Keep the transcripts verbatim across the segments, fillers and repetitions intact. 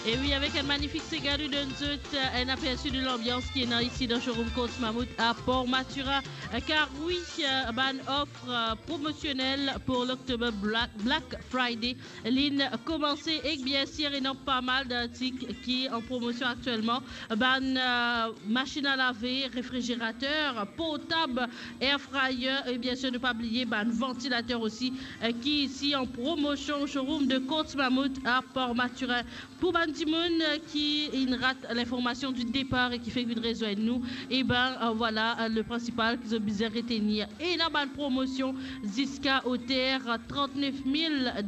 E wi, avek enn manifik sega, nou donn zot, euh, enn apersi de lanbians ki ena isi dan showroom Courts Mammouth a Port Mathurin. Euh, kar wi, euh, bann of, euh, promosionel pou l'October Black, Black Friday, li'nn koumanse ek, biensir, ena pa mal d'artik ki an promosion aktielman. Bann, euh, masinn a lave, refrizerater, portab, air fryer, e biensir, ne pa bliye bann vantilater osi, euh, ki isi an promosion showroom de Courts Mammouth a Port Mathurin. Pou bann dimoun, euh, ki inn rat l'information du départ e ki fek vinn rezwenn nou, e ben, euh, vwala, euh, le principal ki zot bizin retenir. Ena bann promosion ziska oter, euh, trant-nef mil, euh,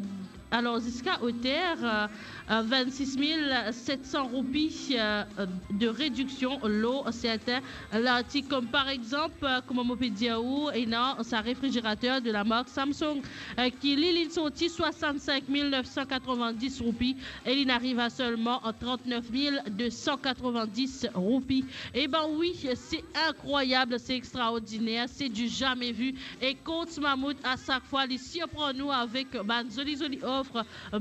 alor ziska oter, euh, euh, vinn-sis mil set san roupi, euh, euh, de rediksion lor sertin lartik, kom par exanp, euh, kouma mo pe dir ou, ena sa refrizerater de la mark Samsung, euh, ki li, li'nn sorti swasann-sink mil nef san katrovin-dis roupi, e li'nn ariv a selman trant-nef mil de san katrovin-dis roupi. E ben wi, se inkrwayab, se extraordiner, se du jamais vu. E Courts Mammouth, a sak fwa, li sirprann nou avek bann zoli, zoli of,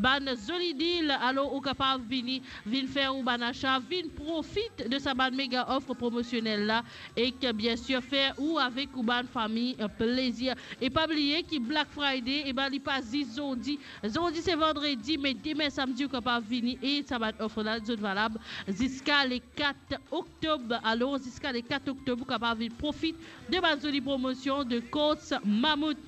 bann zoli deal. Alor, ou kapav vini, vinn fer ou bann asa, vinn profit de sa bann mega of promosionel la. Ek, biensir, fer ou avek ou bann fami, euh, plezir. E pa bliye ki Black Friday, e ben, li pa zis zordi. Zordi se vandredi, me demin samdi, ou kapav vini e sa bann of la, zot valab ziska le kat oktob. Alor, ziska le kat oktob, ou kapav vinn profit de bann zoli promosion de Courts Mammouth.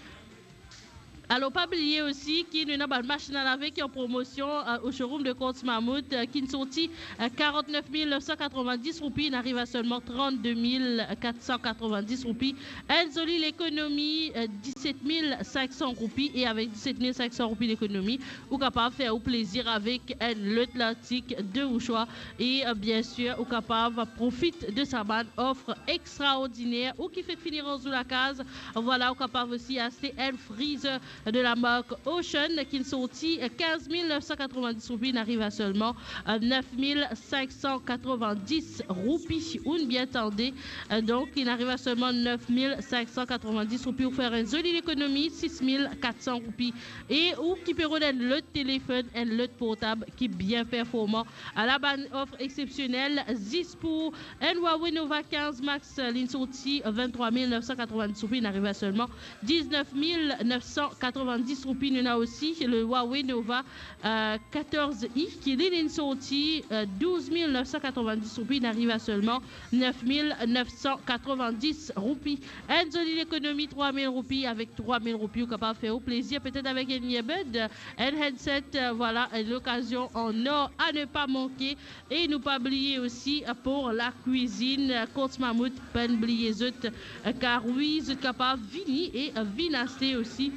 Alor, pa bliye osi ki nou ena bann masinn a lave ki an promosion, euh, o showroom de Courts Mammouth, euh, ki'nn sorti, euh, karant-nef mil nef san katrovin-dis roupi, inn ariv a selman trant-de mil kat san katrovin-dis roupi. Enn zoli lekonomi, euh, diset mil sink san roupi, e avek diset mil sink san roupi lekonomi, ou kapav fer ou plezir avek enn lot lartik de ou swa. E, euh, biensir, ou kapav profit de sa bann of extraordiner. Ou ki fek fini rans ou lakaz, vwala, ou kapav osi aste enn freezer de la mark Ocean ki'nn sorti kinz mil nef san katrovin-dis roupi, inn ariv a selman, euh, nef mil sink san katrovin-dis roupi. Ou'nn bien tande, euh, donk, inn ariv a selman nef mil sink san katrovin-dis roupi, ou fer enn zoli lekonomi, sis mil kat san roupi. E ou ki pe rod enn lot telefonn, enn lot portab ki bien performan. Ala bann of exsepsionel zis pou enn Huawei Nova kinz Max, li'nn sorti vinn-trwa mil nef san katrovin-dis roupi, inn ariv a selman diznef mil nef san katrovin-dis roupi. Nou ena osi le Huawei Nova, euh, katorz i, ki li, li'nn sorti, euh, douz mil nef san katrovin-dis roupi, inn ariv a selman nef mil nef san katrovin-dis roupi. Enn zoli lekonomi trwa mil roupi, avek trwa mil roupi, ou kapav fer ou plezir, petet avek enn earbud, enn headset, euh, vwala, enn lokazion an or a ne pa manke. E nou pa bliye osi, euh, pou lakwizinn, euh, Courts Mammouth, pa'nn bliye zot, euh, kar wi, zot kapav vini e, euh, vinn aste osi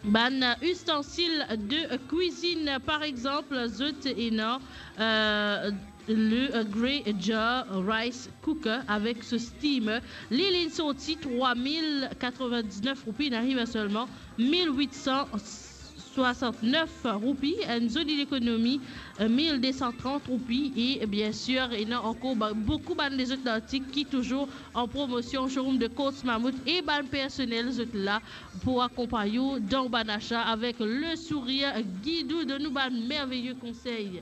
bann, euh, ustensil de, euh, kwizinn. Par exanp, zot ena, euh, le, euh, Grey Jar Rice Cooker avek so steamer. Li, li'nn sorti trwa mil katrovin-diznef roupi, inn ariv a selman mil wit san swasant-nef roupi, enn zoli lekonomi, euh, mil de san trant roupi. E, biensir, ena ankor ba-, boukou bann lezot lartik ki touzour an promosion showroom de Courts Mammouth, e bann personel zot la pou akonpagn ou dan bann asa avek le sourir, gid ou, donn ou bann merveye konsey.